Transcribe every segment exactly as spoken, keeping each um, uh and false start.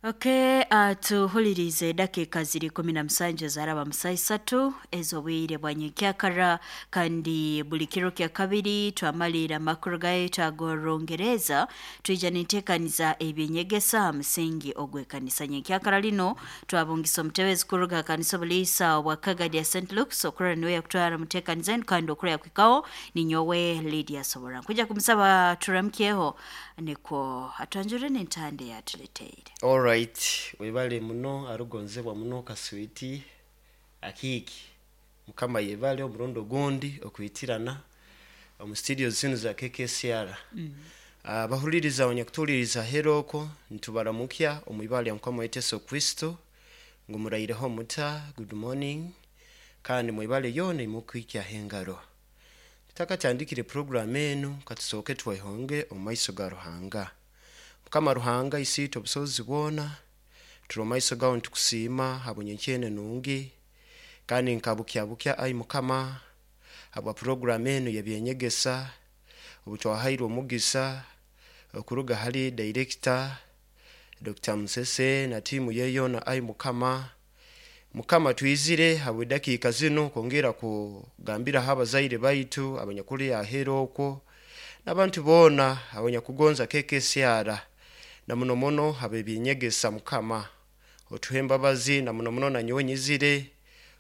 Okay, uh, tuhulirize edakika ziri kumi na musanju zaraba musa isatu ez'obwire bwa nyenkyakara, kandi buli kiro kya kabiri twamalira amakuru gaitu ag'Orungereza, twija ninteekaniza ebyenyegesa ha musingi ogw'ekanisa. Nyenkyakara lino twabungisa omutebezi kuruga ha kanisa obuliisa obwa Kagadi ya Saint Luke's, okurora niwe yakutwara muteekaniza enu, kandi okurora yakuhikaho ninyowe Lydia Sobora. Nkwija kumusaba turamukyeho nikwo atwanjurire n'entanda eyatuleteire. Alright, webale muno arugonzebwa muno kaswiti akiiki. Mukama yebale omurundi ogundi okwitirana omu studio zinu za K K C R. mm. Abahuliriza, abanyakutuhuliriza heroko, nitubaramukya omu ibara lya Mukama waitu Yesu Kristo, ngu muraireho muta? Good morning, kandi mwebale yoona imukwikyaho engaro. Tutakatandikire program enu, katusooke twehonge omu maiso ga Ruhanga. Mukama Ruhanga Isiitwe obusobozi bwona, turi omu maiso gawe nitukusiima habw'enyenkyene nungi, kandi nka bukya bukya, ai Mukama, habwa program enu y'ebyenyegesa, obu twahairwe omugisa okuruga hali director Doctor Musese na tiimu ye yoona. Ai Mukama, Mukama, twizire habw'edakiika zinu kwongera kugambiraho abazaire baitu abanyakuli aheeru okwo n'abantu boona abanyakugonza K K C R, na muno muno hab'ebyenyegesa. Mukama, otuhe embabazi, na muno muno nanyowe nyizire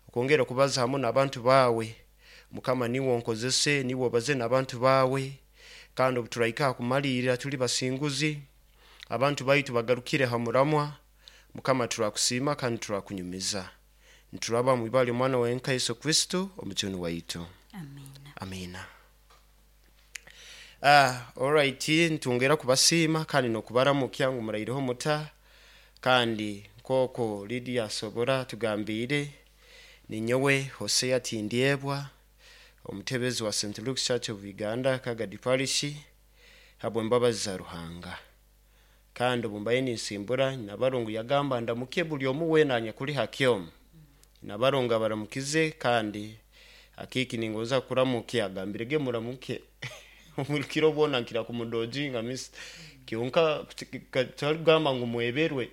okwongera kubaza hamu n'abantu baawe. Mukama, niwe onkozese, niwe obaze n'abantu baawe, kandi obu turahika ha kumalirra tuli basinguzi, abantu baitu bagarukire ha muramwa. Mukama, turakusiima kandi turakunyumiza. Nituraba mu ibara ly'omwana wenka Yesu Kristo Omujuni waitu. Amina. Amina. Ah, alright, ntungera kubasiima kandi n'okubaramukya ngu muraireho muta? Kandi nk'oko Lydia Sobora tugambiire, ninyowe Hosea Tindyebwa, omutebezi wa Saint Luke's Church of Uganda, Kagadi Parish, habw'embabazi za Ruhanga. Kandi obu mbaye ninsimbura, Nabarungu yagamba ndamuke buli omu weena anyakuli ha kyomu. Nabarungu abaramukize, kandi akiiki ningonza kuramukya, agambirege muramuke. Omurukiro bwona nkira kumudojinga miss kyonka twarikugamba ngu mweberwe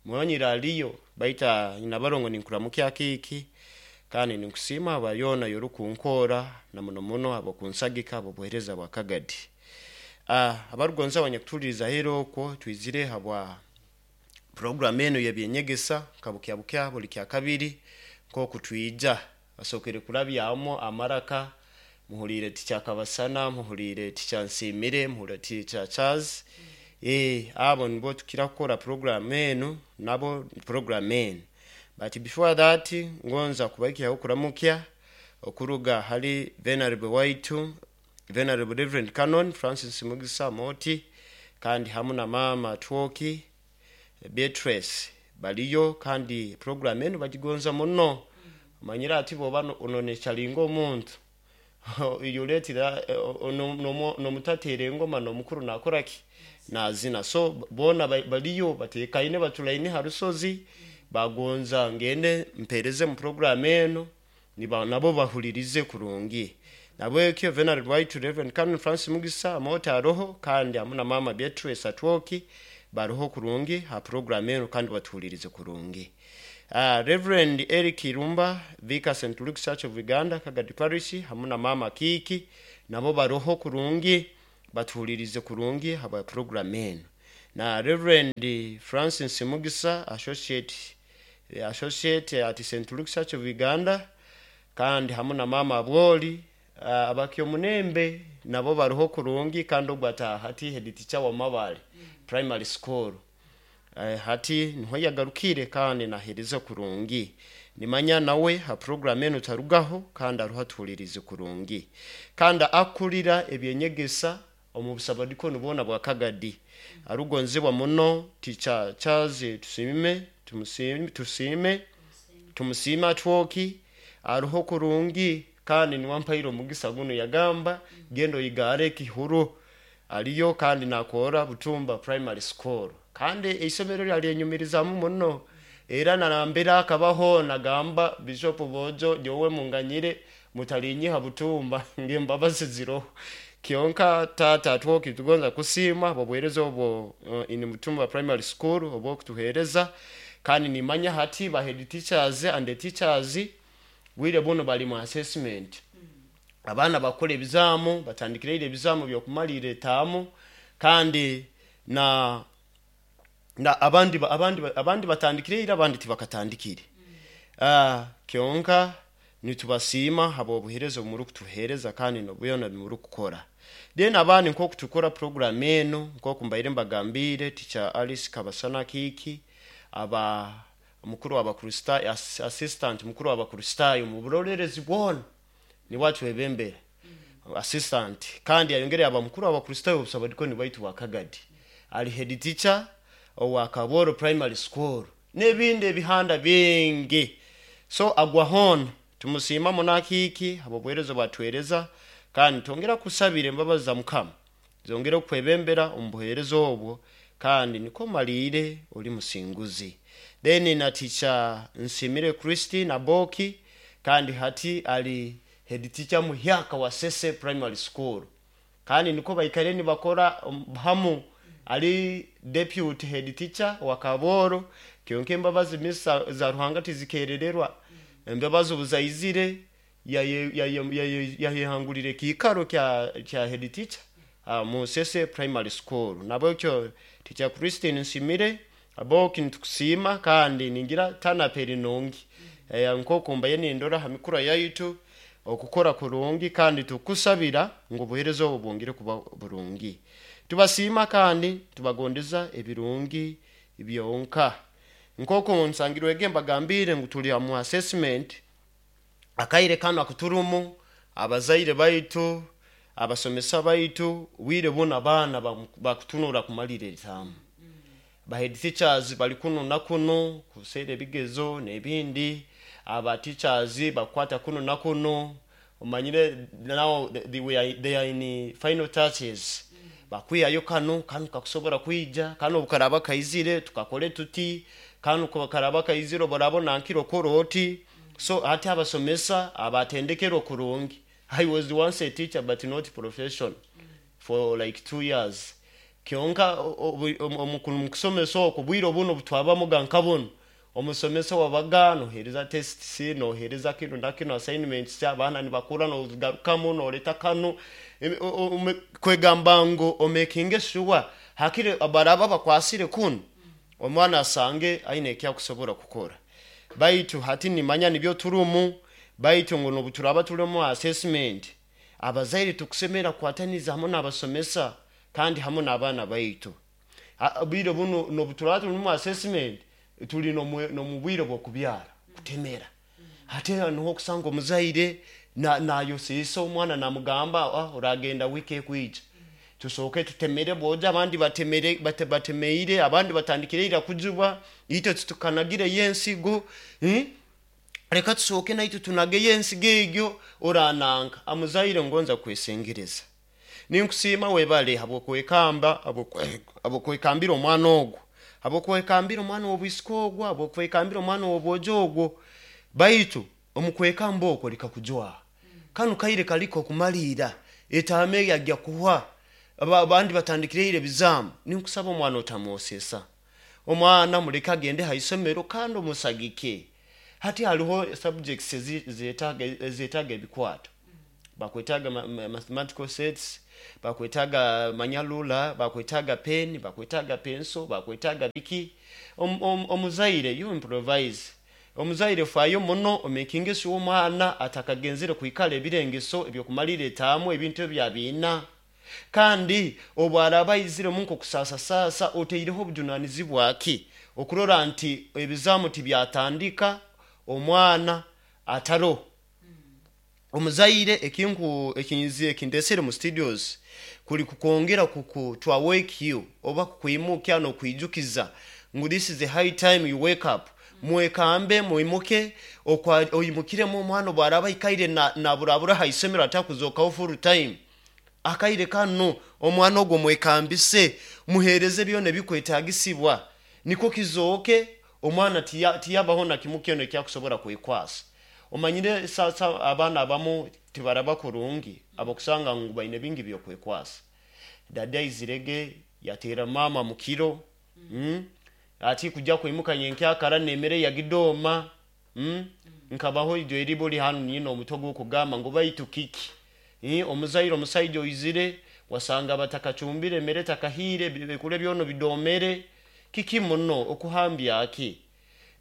mwanyira aliyo, baita Nabarongo, ninkuramukya akiiki, kandi ninkusiima aba yoona yorukunkora, na muno muno habw'okunsagika habw'obuheereza bwa Kagadi. Ah, abarugonza abanyakutuhuliriza heero okwo, twizire habwa program enu y'ebyenyegesa nka bukya bukya buli kya kabiri nk'oku twija. Basookere kurabyamu amaraka, muhuliire tikyakabasana, muhuliire tikyansiimire, muhuliire tikya Charles. eh abo nibo tukira kukora program enu nabo, program enu. But before that, ngonza kubahikyaho okuramukya okuruga hali venerable waitu, Venerable Reverend Canon Francis Mugisa Moti, kandi hamu na mama Twoki Beatrice baliyo, kandi program enu bagigonza muno. Omanyire ati bwoba ononechalinga omuntu yuletera nomutateera engoma n'omukuru nakoraki? Nazina. So boona baliyo batekaine, baturaine ha rusozi, bagonza ngende mpereze mu program enu, niba nabo bahulirize kurungi. Nabwekyo Venerable waitu Reverend Canon Francis Mugisa Moti aroho, kandi hamu na mama Beatrice Atwoki baroho kurungi ha program enu, kandi batuhulirize kurungi. uh, Reverend Eric Irumba, Vicar, Saint Luke's Church of Uganda, Kagadi Parish, hamu na mama Kiki nabo baroho kurungi, batuhulirize kurungi habwa program enu. Na Reverend Francis Mugisa, associate associate at Saint Luke's Church of Uganda, kandi hamu na mama Bwoli, uh, abakyomunembe nabo baroho kurungi, kandi ogwo ataha hati head teacher wa Mabale Primary School. uh, hati niho yagarukire, kandi nahereza kurungi. Nimanya nawe ha program enu tarugaho, kandi aruho atuhulirize kurungi, kandi akurira ebyenyegesa omu busabadikoni bwona bwa Kagadi, arugonzebwa muno, Teacher Charles Tusime, tumusime, tusiime, tumusiime Atwoki aruho kurungi, kandi niwe ampaire omugisa guno, yagamba genda oyigare ekihuru. Aliyo kandi nakora Butumba Primary School, kandi eisomero lyalyenyumirizamu muno, era narambere akabaho nagamba Bishop Bojo, nyowe munganyire mutalinyiha Butumba, ng'embabazi ziroho. Kyonka tata twoki tugonza kusiima obuheereza obwo uh, in Mutumba Primary School obwokutuheereza. Kandi nimanya hati ba head teachers and the teachers bwire buno bali mu assessment. Abaana bakora ebizaamu, batandikire ebizaamu byokumalira etaamu, kandi na na abandi abandi abandi batandikire, abandi tibakatandikire. Ah, kyonka nitubasiima habw'obuheereza obumuri kutuheereza kandi n'obuyona bimuri kukora. Then abandi nk'oku tukora program eno, nk'oku mbaire mbagambire, Teacher Alice Kabasana Kiki aba mukuru w'Abakristaayo, assistant mukuru w'Abakristaayo mu burolerezi bwona niwe atwebembera assistant, kandi ayongere aba mukuru w'Abakristaayo obusabadikoni baitu wa Kagadi, ali head teacher owa Kaboro Primary School n'ebindi ebihanda bingi. So agwa hona tumusiima munakiki habw'obuheereza bwatwereza, kandi twongera kusabira embabazi za Mukama zongere okwebembera omu buheereza obwo, kandi niko malire oli musinguzi. Then na Teacher Nsimire Christine Aboki, kandi hati ali head teacher muhyaka wa Sese Primary School, kandi niko baikare nibakora hamu, ali deputy head teacher wa Kaboro. Kyonka embabazi misa za Ruhanga tizikerererwa, embabazi obuzaizire yayehangulire kiikaro kya kya head teacher uh, mu Sese Primary School. Nabwekyo Teacher Christine Nsimire Aboki nitukusiima, kandi ningira tanaperi nungi eh, nk'oku mbaye nindora ha mikura yaitu okukora kurungi, kandi tukusabira ngu obuheereza obwo bwongere kuba burungi. Tubasiima kandi tubagondeza ebirungi byonka. Nk'oku nsangirwege mbagambire ngu tuli mu assessment akaire kano akuturumu, abazaire baitu, abasomesa baitu bwire buno abaana bakutunura kumalira etaamu. Ba head teachers bali kuno na kuno kuseera ebigezo n'ebindi, aba teachers bakwata kuno na kuno, omanyire now they, we are, they are in final touches. Bakwiyayo kano kano kakusobora kwija kano obukaraba kaizire tukakole tuti, kano kakaraba kaizire oborabona nkiro koroti. So hati abasomesa abatendekero kurungi. I was once a teacher but not profession for like two years. Kyonka omukusomesa okwo bwire obuno butwabamuga nka buno omusomesa wabaga nohereza tests, nohereza kino na kino, assignments, abaana nibakura nogarukamu noleta kano kwegamba ngu omakinge sure hakire abaraba bakwasire kuno omwana asange aine ekyakusobora kukora. Baitu hati nimanya nibyo turumu, baitu ngu nobuturaba turimu assessment abazaire tukusemera kukwataniza hamwe n'abasomesa kandi hamwe n'abaana baitu. Bwire buno nobuturaba turimu assessment tuli nomu bwire bw'okubyara kutemera. Hati niho okusanga omuzaire nayosesa omwana namugamba ah, oragenda wiki ekwija tusooke tutemere bwoja, abandi batemere bate, batemeire, abandi batandikire ira kujuba, itwe tutukanagire yensigo hmm? Reka tusooke naitwe tunage yensigo egyo orananka. Amuzaire ngonza kwesengereza, ninkusiima webale habwokwekamba, habwokwekambira omwana ogwo, habwokwekambira omwana w'obwisika ogwo, habwokwekambira omwana w'obwojo ogwo. Baitu omukwekamba okwo likakujwaha kanu kaire kaliko okumalira etaame yajja kuhwa, abandi batandikireire ebizaamu. Ninkusaba omwana otamwosesa, omwana muleke agende ha isomero kandi omusagike. Hati hariho subjects ezeetaaga ebikwato, bakwetaaga mathematical sets, bakwetaaga manyalula, bakwetaaga pen, bakwetaaga pencil, bakwetaaga biki. Omuzaire you improvise, omuzaire faayo muno omakinge sure omwana atakagenzere kwikara ebirengeso ebyokumalira etaamu ebintu ebyo abiina. Kandi obwaraba aiziremu nkokusasa oteireho obujunanizibwa ki okurora nti ebizaamu tibyatandika omwana ataro. Omuzaire ekinku ekinzi ekindesere mu studios kuli kukwongera kuku to awake you oba kukwimuka n'okwijukiza ngu this is the high time you wake up. Mwekambe muimuke, oyimukiremu omwana obwaraba aikaire naburabura ha isomero atakuzokaho full time. Akaire kano omwana ogwo mwekambise, muhereze byona ebikwetagisibwa niko kizooke omwana tiyabaho na kimu kyona ekyakusobora kwekwasa. Omanyire sasa abaana abamu tibaraba kurungi, abakusanga ngu baine bingi byokwekwasa. Dada aizirege yateera mama mukiro, mm? Ati kujja kwimuka nyenkyakara nemere yagidoma, mm? Nkabaho ijo eribuli hanu nyina omutwe gw'okugamba ngu baitu kiki? Eh, omuzaire omusaija oizire wasanga batakacumbire emere takahire bikule byono bidomere kiki muno okuhambya ki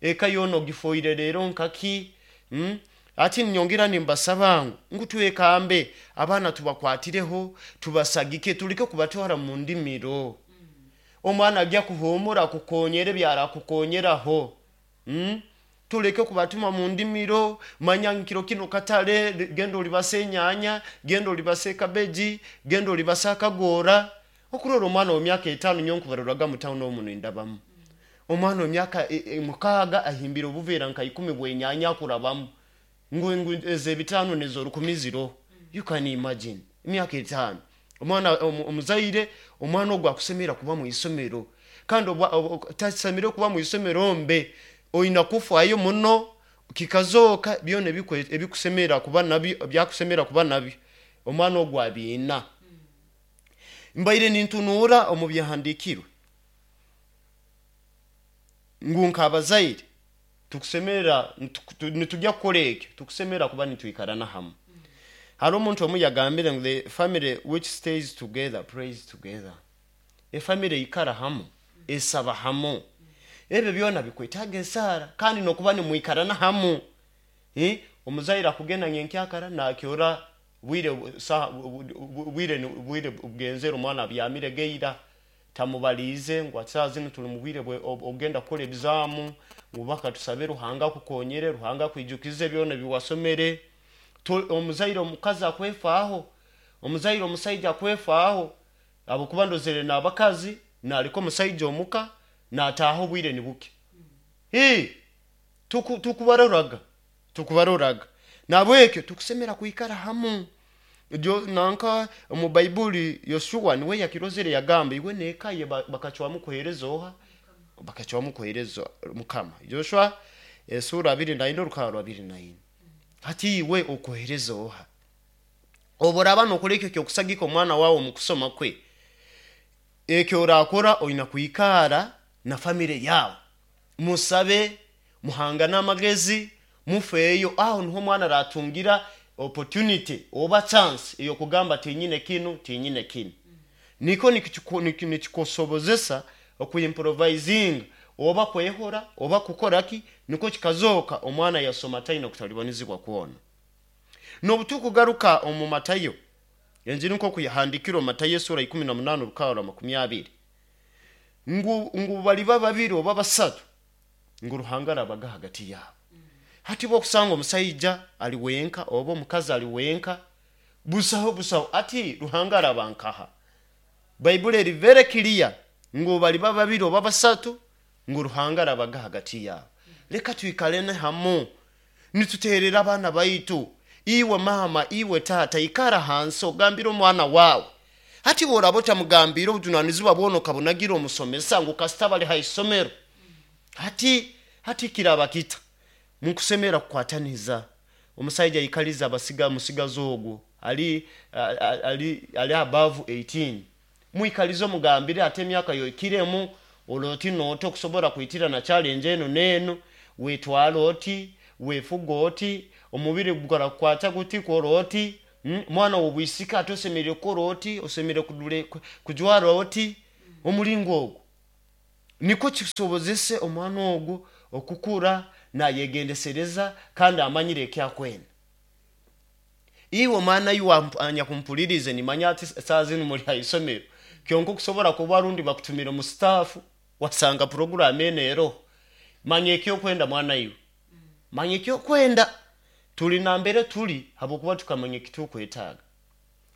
eka yono ogifoire rero nkaki, mm? Ati nyongera nimbasaba ngu ngu twekambe abaana tubakwatireho tubasagike tuleke kubatwara mu ndimiro. Omwana ajya kuhumura kukonyera byarakukonyeraho, mm? Tuleke kubatuma mu ndimiro. Manya nkiro kino katale genda olibasa enyanya, genda olibasa ekabeji, genda olibasa akagora. Okurora omwana w'emyaka etaano nyo nkubaruraga mu town omu nindabamu omwana w'emyaka e, e, mukaaga ahimbire obuveera nka ikumi bw'enyanya akurabamu ngu ngu ez'ebitaano nez'orukumi ziro. You can imagine emyaka etaano omwana omuzaire omwana ogwo akusemera kuba mu isomero, kandi tasemere kuba mu isomero mbe oina kufayo muno kikazoka byona ebikusemera kuba nabyo byakusemera kuba nabyo omwana ogwo abiina. Mbaire nintunuura omu byahandiikirwe ngu nk'abazaire tukusemera nitujya kukora ekyo, tukusemera kuba nitwikarana hamu. Hari omuntu omu yagambire ngu the family which stays together prays together. Efamily ikara hamu esaba hamu, ebyo byona bikwetaaga esaara kandi nokuba nimwikarana hamu. Eh, omuzaire akugenda nyenkyakara nakyora bwire saha bwire bwire bugenzere omwana abyamire geira tamubaliize ngu ati saaha zinu tuli mu bwire ogenda kukora ebizaamu ngu baka tusabe Ruhanga akukonyere, Ruhanga akwijukize byona ebiwasomere. Omuzaire omukazi akwefaaho, omuzaire omusaija akwefaaho, ahabwokuba ndozere n'abakazi naleka omusaija omuka nataaha obwire nibuke. Tuku tukubaroraga tukubaroraga nabwekyo tukusemera kwikara hamu. Jo nanka omu Baibuli Yoshua niwe yakirozere yagamba iwe n'eka ye bakacwamu kuheereza oha? Bakacwamu kuheereza Mukama. Joshua esura abiri na ina orukara abiri na ina. Hati iwe okuheereza oha? Obu oraaba nokora ekyo kyokusagika omwana wawe omu kusoma kwe, ekyo orakora oina kwikara na famire yawe, musabe, muhangane amagezi, mufeeyo. Aho niho omwana aratungira opportunity oba chance ey'okugamba tinyine kinu tinyine kinu, niko nikikusobozesa okuimprovisinga oba kwehora oba kukora ki, niko kikazoka omwana yasoma taina kutalibanizibwa kwona. N'obutukugaruka omu Matayo, enjiri nk'oku yahandikirwe Matayo esura ikumi na munaana orukara rwa makumi abiri, ngu ngu baliba babiri oba basatu ngu Ruhanga arabaga hagati yabo. Hati bwokusanga omusaija ali wenka oba omukazi ali wenka busaho busaho, ati Ruhanga araba nkaha? Baibuli eri very clear ngu baliba babiri oba basatu ngu Ruhanga arabaga hagati yabo. Leka twikalene hamu nituterera abaana baitu. Iwe mama, iwe tata, ikara hansi ogambire omwana wawe. Hati bworaba otamugambire obujunanizibwa bwona okabunagira omusomesa ngu kasita bali ha isomero, hati hati kiraba kita? Mukusemera kukwataniza. Omusaija aikaliza abasiga musigazi ogwo ali ali ali above eighteen, mwikalize omugambire ate emyaka yoikiremu oloti nooti okusobora kwitira na challenge enu n'enu, wetwara oti wefuga oti omubiri gurakukwata guti kora oti, mm, mwana w'obwisika ate osemerire kukora oti, osemerire kujwara oti omulingo ogwo, niko kisobozese omwana ogwo okukura nayegendesereza kandi amanyire ekyakwenda. Iwe omwana iwe anyakumpulirize, nimanya ati saa zinu muli ha isomero, kyonka okusobora kuba rundi bakutumire mu staff wasanga program eno eroho. Manya ekyokwenda mwana iwe, manya ekyokwenda. Tuli nambere tuli habwokuba tukamanya ekitukwetaaga.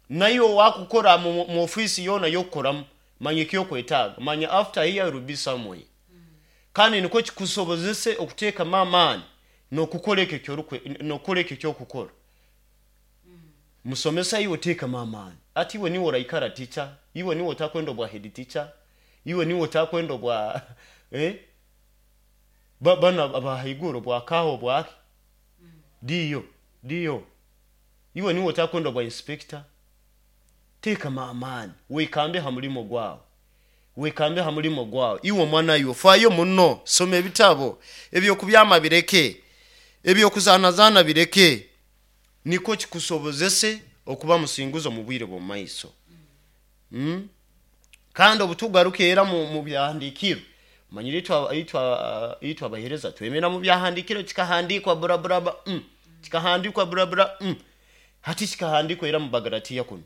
Naiwe wakukora mu, mu ofisi yoona yokukoramu, manya ekyokwetaaga, manya after here will be somewhere, kandi nikwo kikusobozese okuteekamu amaani n'okukora ekyo kyorukwe n'okukora ekyo kyokukora. Musomesa iwe teekamu amaani, ati iwe niwe oraikara teacher, iwe niwe otakwenda obwa head teacher, iwe niwe otakwenda obwa eh? Ba, bana abahaiguru obwakaho obwaki. Diyo diyo, iwe niwe otakwenda bwa inspector. Teekamu amaani, weekambe ha mulimo gwawe, weekambe ha mulimo gwawe. Iwe omwana, iwe faayo muno, soma ebitabo, ebyokubyama bireke, ebyokuzaanazaana bireke, nikwo kikusobozese okuba musinguzi omu bwire bw'omu maiso. mm? Kandi obutugaruka era mu, mu byahandiikirwe, manyire itwe itwe itwe abaheereza twemera mu byahandiikirwe, kikahandiikwa buraburaba, mm. kikahandiikwa burabura, mm. Hati kikahandiikwa era mu Bagalatiya kuno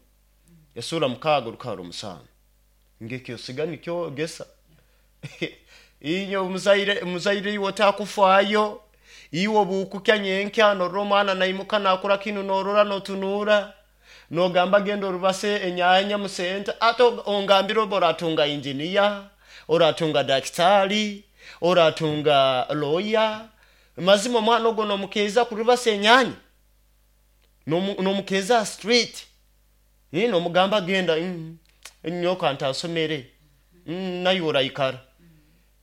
esura mukaaga orukaro musanju, ngekyosiga nikyo gesa. Inyo muzaire, muzaire, iwe otakufaayo, iwe obukukya nyenkya norora omwana naimuka nakora kinu, norora notunura nogamba, "Genda orubase enyanya musenta." Ate ongambire oba oratunga engineer, oratunga dakitari, oratunga lawyer, mazima omwana ogwo nomukeeza kurubasa enyanya, nomukeeza street, nomugamba, "Genda, mm, nyoka ntasomere, mm, naye oraikara."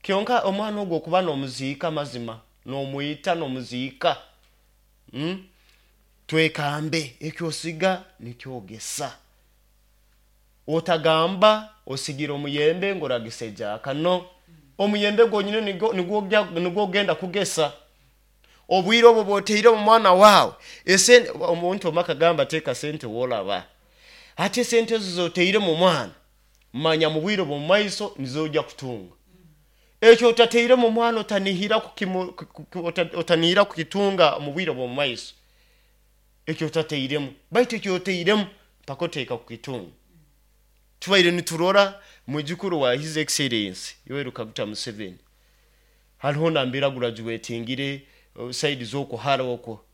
Kyonka omwana ogwo okuba nomuziika, mazima nomwita, nomuziika. mm? Twekambe, ekyosiga nikyogesa. Otagamba osigira omuyembe ng'oragisa ejaka, no omuyembe gwonyine nigwo ogenda kugesa. Obwire obwo bwoteire mu mwana waawe esente, omuntu omwe akagamba, "Teeka sente wolaba." Ate esente ezo zoteire mu mwana, manya mu bwire bw'omu maiso nizojja kutunga. Ekyo otateire mu mwana, otanihira otanihira kukitunga mu bwire bw'omu maiso, ekyo otateiremu. Baitu ekyo oteiremu mpaka oteeka kukitunga. Tubaire niturora mwijukuru wa His Excellence Yoweri Kaguta Museveni, hariho nambere graduatingire side z'okuhara okwo.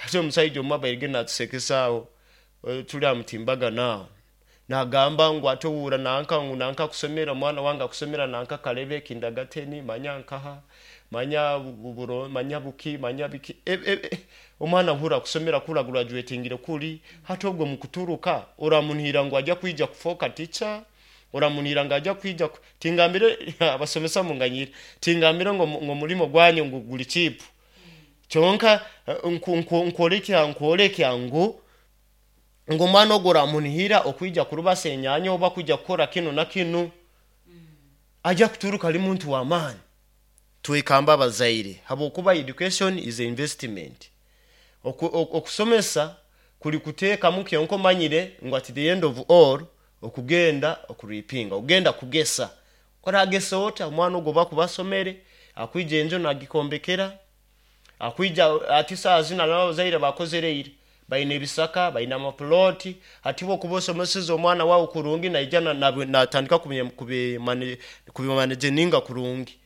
Ate omusaija omwe abaire natusekesaaho, tuli aha mutimbagano aho, nagamba ngu ate owura nanka ngu nanka kusomera omwana wange akusomera nanka Kalebe kindergarten, manya nkaha, manya buro, manya buki, manya biki. e, e, e, omwana hura kusomera kura graduatingire kuri. Hati ogwo mukuturuka oramunihira ngu ajja kwija kufoka teacher? Oramunihira ngu ajja kwija? Tingambire abasomesa munganyire, tingambire ngo omulimo gwanyu ngu guli cheap. Kyonka nkwolekya nkwolekya ngu ngu omwana ogwo oramunihira okwija kurubasa enyanya oba kwija kukora kinu na kinu, ajja kuturuka ali muntu w'amaani. Twekamba abazaire, habwokuba education is a investment. Okusomesa kuli kuteekamu, kyonka omanyire ngu at the end of all okugenda okuripinga, ogenda kugesa. Oragesa ota? Omwana ogwo bakuba asomere, akwija enju nagikombekera, akwija ati saa zina n'abazaire bakozereire, baina ebisaka, baina amapuloti. Hati bwokuba osomeseza omwana wawe kurungi, naija natandika kubimanaginga kurungi,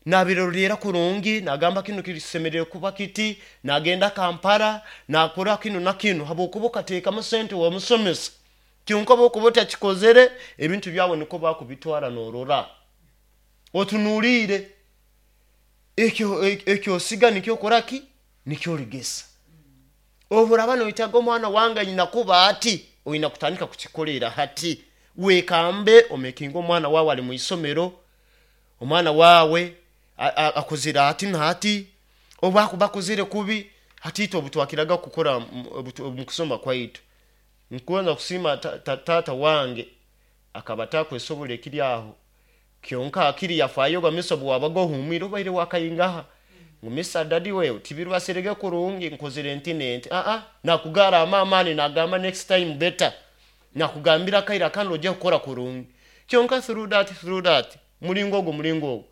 nabirorera kurungi, nagamba kinu kisemerere kuba kiti, nagenda Kampala nakora kinu na kinu, habwokuba okateekamu sente wamusomesa. Kyonka bwokuba otakikozere, ebintu byawe niko bakubitwara. Norora otunuliire ekyo ekyosiga nikyo okoraki, nikyo oligesa. Oburaba noyitaga omwana wange anyina kuba ati, oyina kutandika kukikolera hati. Wekambe omekinga omwana wawe ali muisomero, omwana wawe akozere ati nati, oba akuba akozere kubi. Hati itwe obutwakiraga kukora mukusoma kwaitu, nkubanza kusiima tata wange, akaba takwesobola ekiri aho, kyonka akiri yafayoga miso bwabaga ohumwire obaire wakayingaha ngu, "Misa dadi, wewe tibirwaserege kurungi, nkozere nti nenti." Aa, nakugara amaani, nagamba, "Next time better." Nakugambira akaira kandi ojja kukora kurungi. Kyonka through that through that mulingo ogwo mulingo ogwo.